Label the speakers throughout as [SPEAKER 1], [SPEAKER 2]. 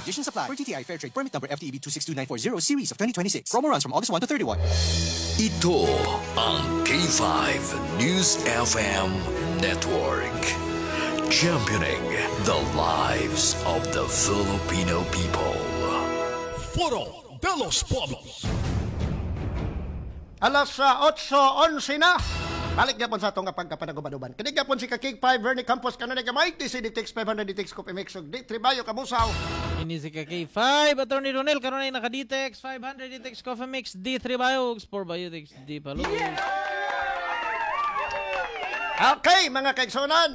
[SPEAKER 1] Conditions apply. For DTI Fair Trade Permit Number FTEB 262940 Series of 2026. Promo runs from August 1 to 31.
[SPEAKER 2] Ito ang K5 News FM Network. Championing the lives of the Filipino people.
[SPEAKER 3] Foro de los Pueblos.
[SPEAKER 4] Alas sa 8:11 na. Balik gyapon sa atong pagkapanaguban-uban. Kini gyapon si Kakig 5 Bernie Campos kanunay gamay DC DTX 500 DTX Coffee Mix ug D3 Bayo Kabusaw.
[SPEAKER 5] Ini si K5 Attorney Ronel karon ay naka DTX 500 DTX Coffee Mix D3 Bio 4 Biotics D Palos.
[SPEAKER 4] Okay, mga kaigsunan.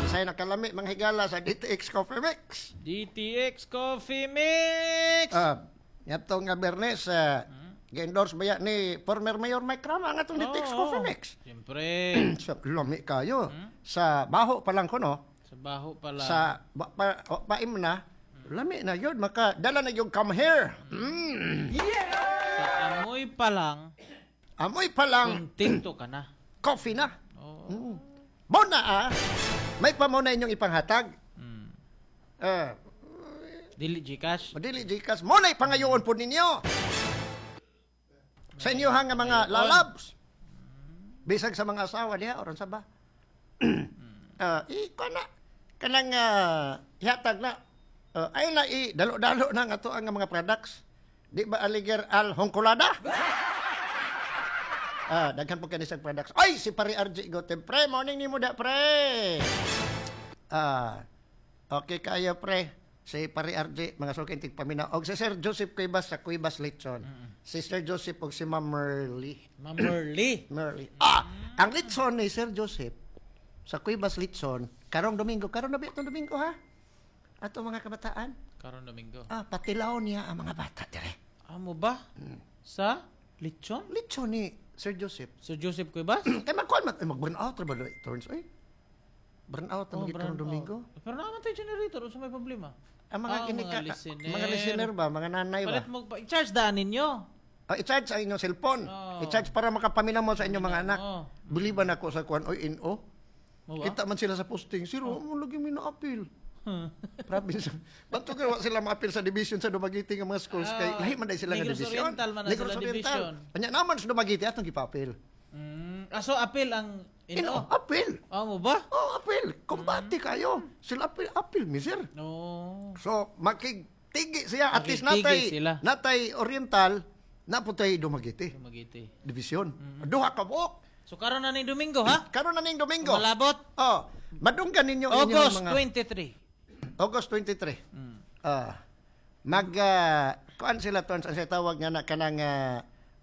[SPEAKER 4] Unsay nakalami mga higala sa DTX Coffee Mix?
[SPEAKER 5] DTX Coffee Mix.
[SPEAKER 4] Ah, yato nga Bernes, gi-endorse ba ya ni former Mayor Mike Rama ang atong DTX Coffee Mix?
[SPEAKER 5] Siyempre.
[SPEAKER 4] So, lami kayo. Sa baho pa lang ko, no?
[SPEAKER 5] Sa baho pala.
[SPEAKER 4] Sa ba, pa, o, paim na, lami na yun. Maka, dala na yung "Come here."
[SPEAKER 5] Sa amoy pa lang,
[SPEAKER 4] Amoy pa lang,
[SPEAKER 5] kontento ka na.
[SPEAKER 4] Coffee na.
[SPEAKER 5] Oo.
[SPEAKER 4] Mo na ah. May pa mo na inyong ipanghatag.
[SPEAKER 5] Dili GCash.
[SPEAKER 4] Madili GCash. Mo na ipangayoon po ninyo. Sa inyo nga mga lalabs. Bisag sa mga asawa diha oron sa ba. I na kanang ihatag na. Ay na i dalo-dalo na nga to ang mga products. Di ba aliger al hongkolada? Daghan po kani sa products. Ay, si Pare RJ Gotem. Pre, morning nimo da, pre. Okay kayo, pre. Si Pare RJ, mga suking tigpaminaw. Og si Sir Joseph Cuevas sa Cuevas Litson. Si Sir Joseph og si Ma'am Merly.
[SPEAKER 5] Ma'am Merly.
[SPEAKER 4] Merly. Ah, ang litson ni Sir Joseph sa Cuevas Litson, karong Domingo, karon na ba itong Domingo ha? Ato mga kabataan.
[SPEAKER 5] Karon Domingo.
[SPEAKER 4] Ah, patilaw niya ang mga bata dire.
[SPEAKER 5] Amo ba? Sa lechon?
[SPEAKER 4] Litson ni Sir Joseph.
[SPEAKER 5] Sir Joseph Cuevas?
[SPEAKER 4] Kay magkuan mag, eh, mag-burn out ra ba turns oy? Burn out ang
[SPEAKER 5] Oh,
[SPEAKER 4] oh,
[SPEAKER 5] brown
[SPEAKER 4] karong Domingo.
[SPEAKER 5] out. Pero naman tayo generator, unsa may problema?
[SPEAKER 4] Ang mga
[SPEAKER 5] Ah,
[SPEAKER 4] kinika,
[SPEAKER 5] mga listener.
[SPEAKER 4] Mga listener ba, mga nanay ba?
[SPEAKER 5] Palit mo pa, i-charge daan ninyo.
[SPEAKER 4] Oh, i-charge sa inyong cellphone.
[SPEAKER 5] Oo.
[SPEAKER 4] I-charge para makapaminaw mo sa inyong mga anak.
[SPEAKER 5] Oo.
[SPEAKER 4] Biliban ako sa kuan oy NO.
[SPEAKER 5] Mo ba?
[SPEAKER 4] Kita man sila sa posting, "Siro, mo lagi mi na-appeal." Province. Banto kay wa sila ma-appeal sa division sa Dumaguete nga mga schools kay lahi man dai sila nga
[SPEAKER 5] Negros
[SPEAKER 4] division.
[SPEAKER 5] Oriental man na
[SPEAKER 4] Negros
[SPEAKER 5] sila
[SPEAKER 4] Oriental.
[SPEAKER 5] division.
[SPEAKER 4] Anya naman sa Dumaguete atong gipa-appeal.
[SPEAKER 5] Ah, so appeal ang
[SPEAKER 4] Ino,
[SPEAKER 5] ino.
[SPEAKER 4] appeal.
[SPEAKER 5] Amo ba?
[SPEAKER 4] Oh, appeal. Kumbate kayo. Sila appeal, appeal mi sir.
[SPEAKER 5] No.
[SPEAKER 4] So makigtigi siya at least
[SPEAKER 5] Makigtigi
[SPEAKER 4] natay
[SPEAKER 5] sila.
[SPEAKER 4] Natay Oriental na putay Dumaguete
[SPEAKER 5] Dumaguete.
[SPEAKER 4] Division. Duha ka buok.
[SPEAKER 5] So karon na ning Domingo ha?
[SPEAKER 4] Karon na ning Domingo.
[SPEAKER 5] Malabot.
[SPEAKER 4] Oh, madunggan ninyo inyong
[SPEAKER 5] August
[SPEAKER 4] mga
[SPEAKER 5] 23.
[SPEAKER 4] August 23. Ah. Mag kuan sila ton sa tawag nga na kanang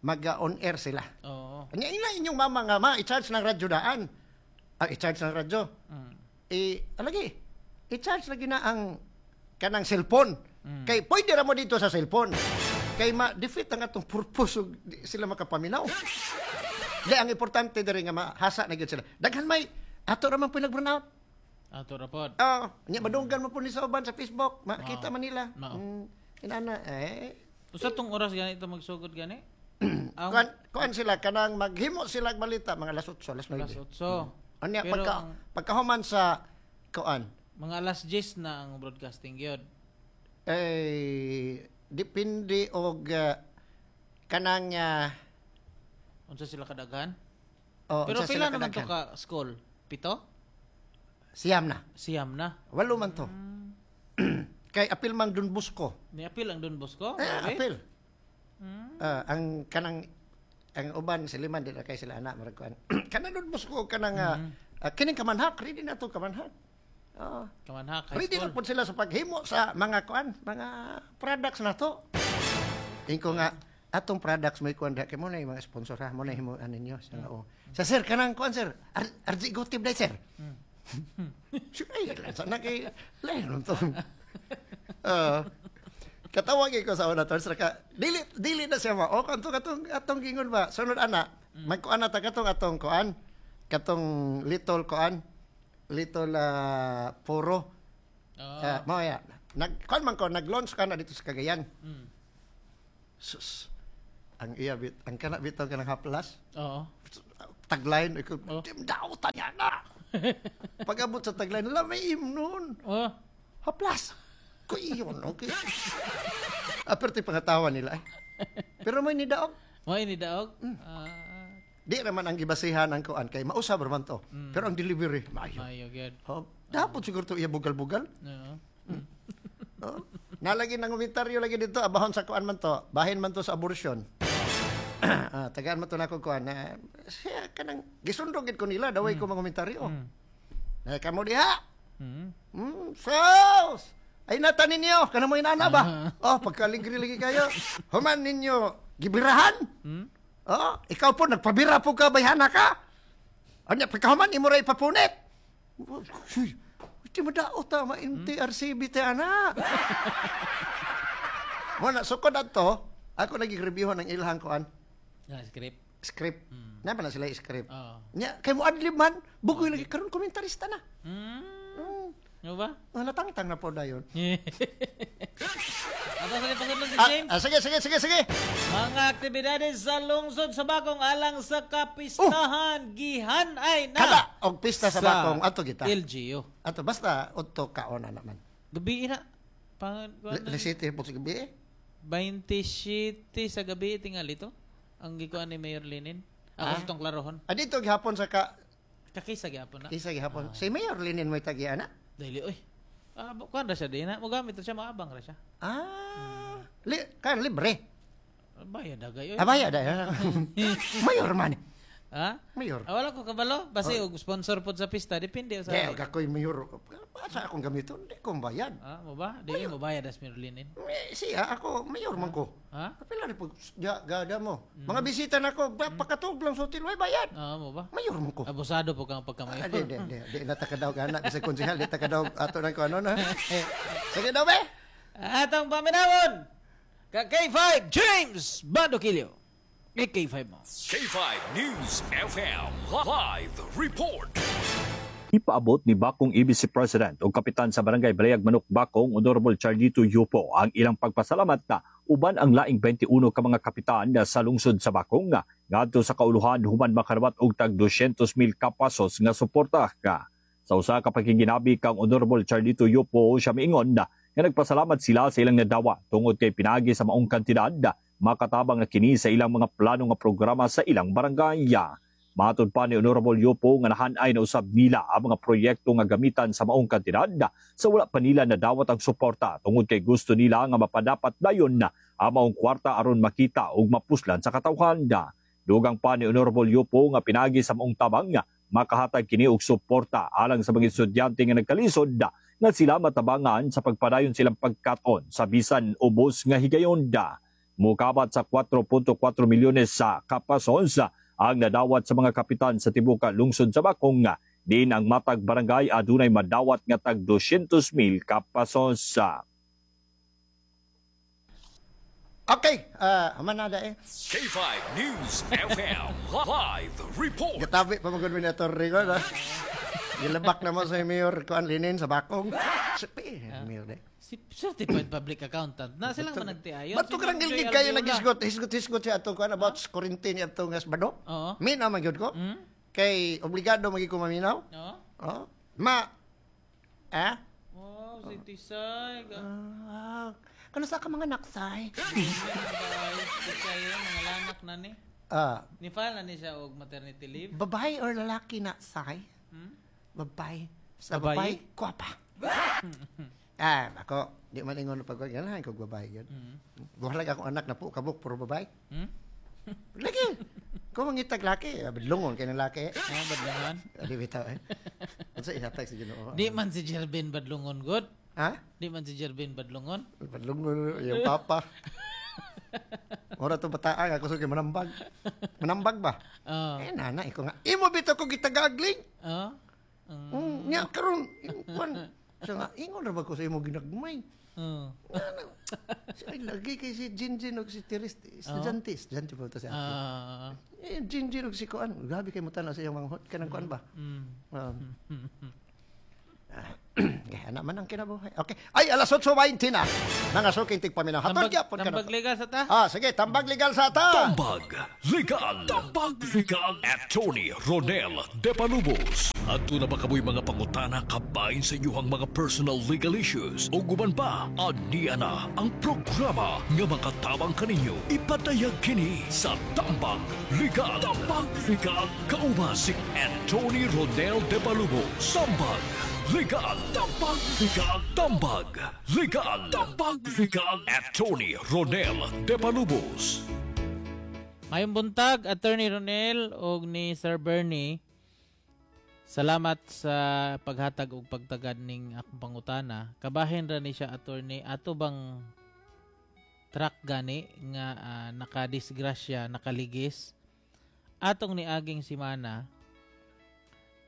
[SPEAKER 4] mag on air sila.
[SPEAKER 5] Oo.
[SPEAKER 4] Anya ina inyong mama nga ma i-charge ng radyo daan. Ah, i-charge ng radyo. Eh, alagi. I-charge lagi na ang kanang cellphone. Kay pwede ra mo dito sa cellphone. Kay ma-defeat ang atong purpose ug di sila makapaminaw. Di ang importante diri nga mahasa na gyud sila. Daghan may ato ra man puy nag-burn out.
[SPEAKER 5] Ato ra pod.
[SPEAKER 4] Oh, nya madunggan mo po ni sa uban sa Facebook, makita man nila.
[SPEAKER 5] Mao.
[SPEAKER 4] Inana eh
[SPEAKER 5] Usa tong oras gani ito magsugod gani? Ang
[SPEAKER 4] kuan kuan sila kanang maghimo sila og balita mga alas 8, alas 9.
[SPEAKER 5] Alas 8.
[SPEAKER 4] Anya
[SPEAKER 5] Pero
[SPEAKER 4] pagka pagkahuman sa kuan
[SPEAKER 5] mga alas 10 na ang broadcasting gyud.
[SPEAKER 4] Eh depende og kanang
[SPEAKER 5] Unsa sila kadaghan?
[SPEAKER 4] Oh,
[SPEAKER 5] Pero
[SPEAKER 4] unsa
[SPEAKER 5] pila
[SPEAKER 4] sila
[SPEAKER 5] naman to
[SPEAKER 4] kadaghan?
[SPEAKER 5] ka school? Pito?
[SPEAKER 4] Siyam na.
[SPEAKER 5] Siyam na.
[SPEAKER 4] Walo man to. Kay apil mang Don Bosco.
[SPEAKER 5] Ni apil ang Don Bosco?
[SPEAKER 4] Eh,
[SPEAKER 5] Grabe.
[SPEAKER 4] apil. Ah, ang kanang ang uban siliman di na kay sila anak murag kuan. Kanang Don Bosco kanang kining Kamanhak, ready na to Kamanhak. Oh.
[SPEAKER 5] Kamanhak High
[SPEAKER 4] Ready na
[SPEAKER 5] School.
[SPEAKER 4] po sila sa paghimo sa mga kuan, mga products na to. Ingko nga atong products may kuan kay mo na yung mga sponsor ha, mo na himo ano ninyo sa oh. Sa sir kanang kuan sir, RG Gotib dai sir. Sure, ay, sana kay lain to. Katawag ko sa una tol ka dili dili na siya ma. O kanto katong atong gingon ba sunod ana magkuan na ta katong atong kuan katong little kuan little puro.
[SPEAKER 5] Oo.
[SPEAKER 4] Mao ya. Nag kuan man ko nag-launch ka na dito sa Cagayan. Sus. Ang iya bit ang kana bitaw kanang haplas.
[SPEAKER 5] Oo.
[SPEAKER 4] Tagline ko
[SPEAKER 5] Oh.
[SPEAKER 4] tim daw tanya na. Pag-abot sa tagline, lamay imnon.
[SPEAKER 5] Oh.
[SPEAKER 4] Haplas. Kuyon, okay. Aperte pangatawa nila eh. Pero may nidaog.
[SPEAKER 5] Mo ini daog. Ah,
[SPEAKER 4] Di naman ang gibasihan ang kuan kay mausab ra man to. Pero ang delivery maayo.
[SPEAKER 5] Maayo gyud.
[SPEAKER 4] Oh, dapat siguro to iya bugal-bugal.
[SPEAKER 5] Oo.
[SPEAKER 4] Oh. Nalagi ng komentaryo lagi dito abahon sa kuan man to, bahin man to sa abortion. Tagaan man to nako kuan na siya kanang gisundog gid ko nila daway ko mga komentaryo. Na kamo diha. Sos! Ay nata ninyo, kana mo inana ba? Oh, pagkaligri lagi kayo. Human ninyo gibirahan. Oh, ikaw po nagpabira po ka bayhana ka. Anya pagkahuman imo ra ipapunit. Di mo dao ta ma MTRCB te ana. Mo na sukod adto, ako lagi review ng ilhang kuan
[SPEAKER 5] Na script.
[SPEAKER 4] Script. Na pa na sila script.
[SPEAKER 5] Oo.
[SPEAKER 4] Nya kay mo adlib man, bugoy lagi karon komentarista na.
[SPEAKER 5] Ano ba?
[SPEAKER 4] Ah, natangtang na po dayon.
[SPEAKER 5] Ato sa pasudlon si James.
[SPEAKER 4] Ah, sige, sige, sige, sige.
[SPEAKER 5] Mga aktibidades sa lungsod sa Bakong alang sa kapistahan gihan ay na.
[SPEAKER 4] Kada og pista sa Bakong ato kita.
[SPEAKER 5] LGU.
[SPEAKER 4] Ato basta udto kaon na naman.
[SPEAKER 5] Gabi na. Pang
[SPEAKER 4] Lisite po sa gabi eh.
[SPEAKER 5] 27 sa gabi tingali to. Ang gikuan ni Mayor Lenin. Ako sa tong klarohon.
[SPEAKER 4] Ah, dito gihapon sa ka
[SPEAKER 5] Kakisa gyapon na.
[SPEAKER 4] isa gihapon. Si Mayor Lenin may tagiana.
[SPEAKER 5] Dili oy. Ah, kuan ra siya din na. Mogamit ra siya, maabang ra siya.
[SPEAKER 4] Ah, li, kan libre.
[SPEAKER 5] Bayad dagay oy.
[SPEAKER 4] Ah, bayad ay. Mayor man.
[SPEAKER 5] Ha?
[SPEAKER 4] Mayor.
[SPEAKER 5] Ah, wala ko kabalo. Basta og sponsor pod sa pista, depende sa.
[SPEAKER 4] Di, og ako'y mayor. Sa akong gamiton, di ko bayad.
[SPEAKER 5] Ah, mo ba? Di mo bayad as Mayor Lenin.
[SPEAKER 4] Eh, siya, ako, mayor man ko.
[SPEAKER 5] Ha?
[SPEAKER 4] Kapila rin po, gada mo. Mga bisita na ko, pakatug lang sa hotel, way bayad.
[SPEAKER 5] Ah, mo ba?
[SPEAKER 4] Mayor man ko.
[SPEAKER 5] Abusado po kang pagkamayor.
[SPEAKER 4] Ah, di, di, di, di, natakadaw ka na. Kasi konsehal, di takadaw ato ng ko ano na. Sige daw, be.
[SPEAKER 5] Atong paminawon! Ka K5 James Bandokilio. Eh, K5 mo.
[SPEAKER 2] K5 News FM Live Report.
[SPEAKER 6] Ipaabot ni Bakong EBC President o Kapitan sa Barangay Balayag Manok Bakong Honorable Charlito Yupo ang ilang pagpasalamat na uban ang laing 21 ka mga kapitan na sa lungsod sa Bakong nga ngadto sa kauluhan human makarawat og tag 200,000 ka pesos nga suporta ka. Sa usa ka pakiginabi kang Honorable Charlito Yupo, siya miingon na nga nagpasalamat sila sa ilang nadawa tungod kay pinagi sa maong kantidad makatabang na kini sa ilang mga plano nga programa sa ilang barangay. Matod pa ni Honorable Yupo nga nahanay na usab nila ang mga proyekto nga gamitan sa maong kantidad sa wala pa nila nadawat ang suporta tungod kay gusto nila nga mapadapat dayon na ang maong kwarta aron makita ug mapuslan sa katawhan. Dugang pa ni Honorable Yupo nga pinagi sa maong tabang nga makahatag kini og suporta alang sa mga estudyante nga nagkalisod nga sila matabangan sa pagpadayon silang pagkaton sa bisan ubos nga higayon. Mukabat sa 4.4 milyones sa kapasos ang nadawat sa mga kapitan sa tibuok lungsod sa Bakong, din ang matag barangay adunay madawat nga tag 200,000 kapasos.
[SPEAKER 4] Okay, aman na eh.
[SPEAKER 2] K5 News FM Live Report.
[SPEAKER 4] Gatabi pa magod ni Torre ko na. Gilabak na mo sa Mayor Kuan Linin sa Bakong. Sabi, Mayor de.
[SPEAKER 5] Si certified public accountant na silang managtiayon.
[SPEAKER 4] Ba't
[SPEAKER 5] Si
[SPEAKER 4] ko karang
[SPEAKER 5] Ma'am Joy
[SPEAKER 4] gilgid kayo
[SPEAKER 5] Alviola.
[SPEAKER 4] naghisgot, hisgot, hisgot siya ato kuan about quarantine ato nga bado.
[SPEAKER 5] Oo.
[SPEAKER 4] Minaw man gyud ko. Kay obligado magi ko maminaw.
[SPEAKER 5] Oo.
[SPEAKER 4] Oh. Ma ah?
[SPEAKER 5] Oh, si Tisay.
[SPEAKER 4] Ah, kano sa ka mga naksay?
[SPEAKER 5] Tisay, mga lanak na ni.
[SPEAKER 4] Ah,
[SPEAKER 5] Ni file na ni siya og maternity leave.
[SPEAKER 4] Babae or lalaki na say? Babae. Sa
[SPEAKER 5] Babae?
[SPEAKER 4] babae, kwapa. Ah, ako, di man ingon pag ganahan ko babae yun. Buhalag akong anak na po, kabuk, puro babae. Lagi. Kung mangitag laki, badlungon kay ng laki.
[SPEAKER 5] Ah, badlungon.
[SPEAKER 4] Di bitaw eh. Unsa ihatag sa Ginoo?
[SPEAKER 5] Di man si Jervin badlungon god.
[SPEAKER 4] Ha?
[SPEAKER 5] Di man si Jervin badlungon.
[SPEAKER 4] Badlungon yung papa. Ora to bataan ako sa manambag. Manambag ba?
[SPEAKER 5] Oo.
[SPEAKER 4] Eh nana ikaw nga. Imo bitaw ko gitagagling.
[SPEAKER 5] Oo.
[SPEAKER 4] Nya karon kuan siya nga ingon ra ba ko sa imo ginagmay.
[SPEAKER 5] Oo.
[SPEAKER 4] Siya ay lagi kay si Jinjin og si Teres estudyante, estudyante pa to siya.
[SPEAKER 5] Ah.
[SPEAKER 4] Eh Jinjin og si kuan, grabe kay mo tan sa iyang mga hot kanang kuan ba. Okay, ana man ang kinabuhi. Okay. Ay, alas 8:20 na. Mga suking tigpaminaw. Hatod
[SPEAKER 5] Tambag,
[SPEAKER 4] gyapon ka na.
[SPEAKER 5] tambag legal sa ta.
[SPEAKER 4] Ah, sige, tambag legal sa ta.
[SPEAKER 2] Tambag Legal. Tambag Legal. Attorney Ronel De Palubos. Adto na ba kamoy mga pangutana kabahin sa inyong mga personal legal issues o guban pa? Ania na ang programa nga makatabang kaninyo. Ipadayag kini sa Tambag Legal. Tambag Legal. Kauban si Attorney Ronel De Palubos. Tambag Legal. Tambag Legal. Tambag Legal. Tambag Legal. Attorney Ronel De Palubos.
[SPEAKER 5] Mayong buntag, Attorney Ronel og ni Sir Bernie. Salamat sa paghatag og pagtagad ning akong pangutana. Kabahin ra ni siya, attorney, ato bang truck gani nga nakadisgrasya, nakaligis atong niaging simana.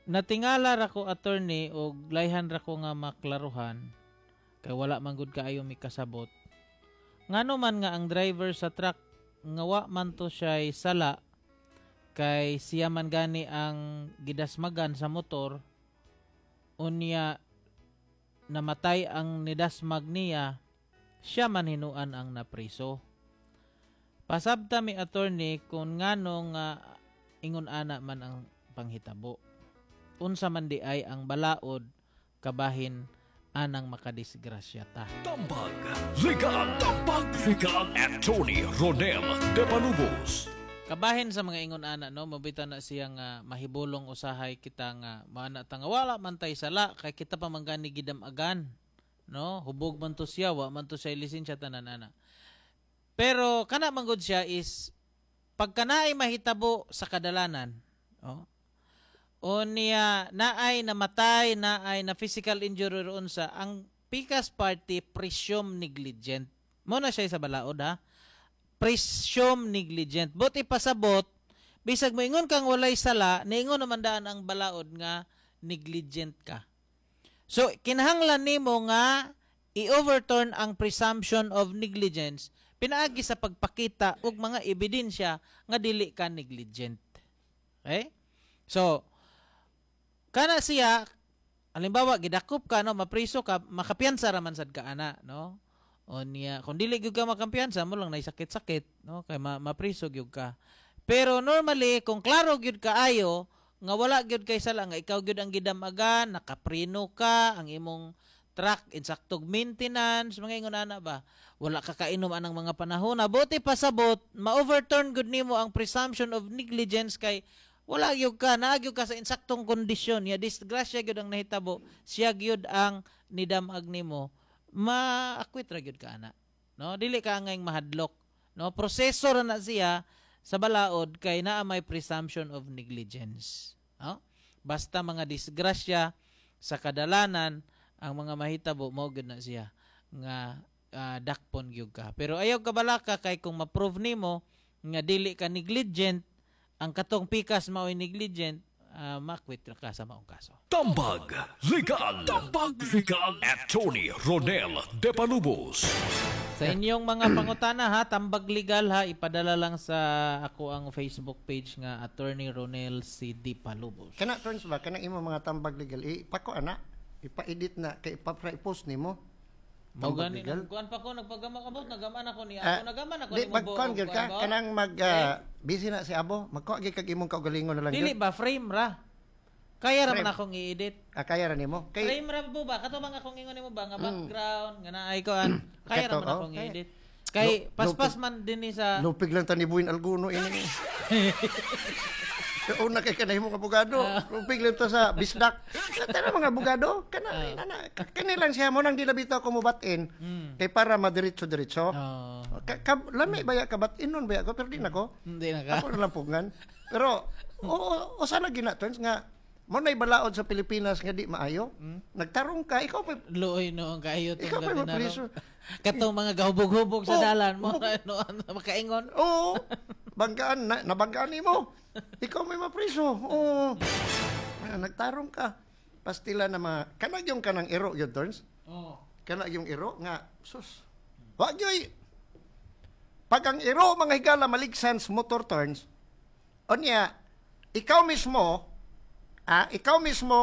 [SPEAKER 5] Natingala ra ko, attorney, og layhan ra ko nga maklaruhan kay wala man gud kaayo mikasabot. Ngano man nga ang driver sa truck nga wa man to siya'y sala kay siya man gani ang gidasmagan sa motor, unya namatay ang nidasmag niya, siya man hinuan ang napriso? Pasabta mi, attorney, kung ngano nga ingon ana man ang panghitabo. Unsa man di ay ang balaod kabahin anang makadisgrasya ta?
[SPEAKER 2] Tambag Legal. Tambag Legal. Attorney Ronel De Palubos.
[SPEAKER 5] Kabahin sa mga ingon ana, no, mabita na siya nga mahibulong usahay kita nga maana ta nga wala man tay sala kay kita pa man gani gidamagan, no, hubog man to siya, wa man to siya lisensya, tanan ana. Pero kana man gud siya is pagka naay mahitabo sa kadalanan, oh, o niya naay namatay, naay na physical injury or unsa, ang pikas party presume negligent mo na siya sa balaod, ha. Presume negligent. But ipasabot, bisag moingon kang walay sala, niingon naman daan ang balaod nga negligent ka. So kinahanglan nimo nga i-overturn ang presumption of negligence pinaagi sa pagpakita og mga ebidensya nga dili ka negligent. Okay? So kana siya, halimbawa gidakop ka, no, mapriso ka, makapiyansa ra man sad ka ana, no? O niya kung dili gyud ka makampiyansa mo lang nay sakit-sakit, no, kay mapriso gyud ka. Pero normally kung klaro gyud kaayo nga wala gyud kay sala, nga ikaw gyud ang gidamagan, nakaprino ka, ang imong truck insaktog maintenance, mga ingon ana ba, wala ka kainom anang mga panahon na, buti pasabot ma-overturn gud nimo ang presumption of negligence kay wala gyud ka, naa gyud ka sa insaktong kondisyon ya disgrasya gyud ang nahitabo, siya gyud ang nidamag nimo, ma-acquit ra gyud ka ana, no. Dili ka angay mahadlok, no. Proseso ra na siya sa balaod kay naa may presumption of negligence, no. Basta mga disgrasya sa kadalanan ang mga mahitabo, mao gyud na siya nga dakpon gyud ka. Pero ayaw kabalaka kay kung ma-prove nimo nga dili ka negligent, ang katong pikas mao'y negligent, ma-acquit ra ka sa maong kaso.
[SPEAKER 2] Tambag Legal. Tambag Legal. Attorney Ronel De Palubos.
[SPEAKER 5] Sa inyong mga pangutana ha, tambag legal ha, ipadala lang sa ako ang Facebook page nga Attorney Ronel C. D. Palubos.
[SPEAKER 4] Kana turns ba kanang imo mga tambag legal ipako ana, ipa-edit na kay ipa-post nimo.
[SPEAKER 5] Mao
[SPEAKER 4] Tambag
[SPEAKER 5] gani
[SPEAKER 4] legal.
[SPEAKER 5] Kuan pa ko nagpagama kabot, nagaman ako ni
[SPEAKER 4] Ah,
[SPEAKER 5] ako, nagaman ako
[SPEAKER 4] di
[SPEAKER 5] nimo
[SPEAKER 4] magkuan gyud ka
[SPEAKER 5] kuan ba?
[SPEAKER 4] kanang mag busy na si Abo, magkuha gyud kag imong kaugalingon na lang
[SPEAKER 5] Dili
[SPEAKER 4] gyud.
[SPEAKER 5] ba, frame ra. Kaya ra man
[SPEAKER 4] Frame.
[SPEAKER 5] akong i-edit.
[SPEAKER 4] Ah, kaya ra nimo kay
[SPEAKER 5] Frame ra mo ba? Kato bang akong ingon nimo ba nga background nga naay kuan. Kaya ra
[SPEAKER 4] Kato,
[SPEAKER 5] man
[SPEAKER 4] oh,
[SPEAKER 5] akong
[SPEAKER 4] kaya.
[SPEAKER 5] i-edit. Kay paspas man dinhi sa
[SPEAKER 4] Lupig lang ta ni Buin Alguno ini. Una kay kanay mong abogado. Lupig lang ta sa bisdak. Tara mga abogado, kana ana kani lang siya mo nang di bitaw ko mobatin kay para madiretso-diretso.
[SPEAKER 5] Oh,
[SPEAKER 4] Ka, lami baya ka batin nun baya ko pero di na ko.
[SPEAKER 5] Hindi na ka.
[SPEAKER 4] Ako na lang pugngan. Pero oo, o sana gina turns nga mo na'y balaod sa Pilipinas nga di maayo. Nagtarong ka, ikaw pa
[SPEAKER 5] Luoy noon kaayo tong
[SPEAKER 4] Ikaw pa
[SPEAKER 5] gabi
[SPEAKER 4] mapriso.
[SPEAKER 5] Katong mga gahubog-hubog sa
[SPEAKER 4] Oh,
[SPEAKER 5] dalan mo no, makaingon.
[SPEAKER 4] Oo. Banggaan na, nabanggaan nimo. Ikaw may mapriso. Oo. Ah, nagtarong ka. Pastila na mga kanag yung kanang iro yun turns.
[SPEAKER 5] Oh.
[SPEAKER 4] Kana yung iro nga sus. Wa gyoy. Pag ang iro mga higala maligsan sa motor turns, unya ikaw mismo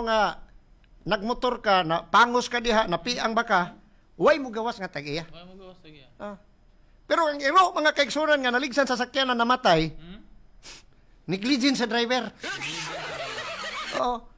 [SPEAKER 4] nga Nagmotor ka, na pangos ka diha, napiang baka, way mo gawas nga tag-iya.
[SPEAKER 5] Wala mo gawas tag-iya.
[SPEAKER 4] Ah. Pero ang iro mga kaigsunan nga naligsan sa sakyanan namatay, negligence sa driver. Oo.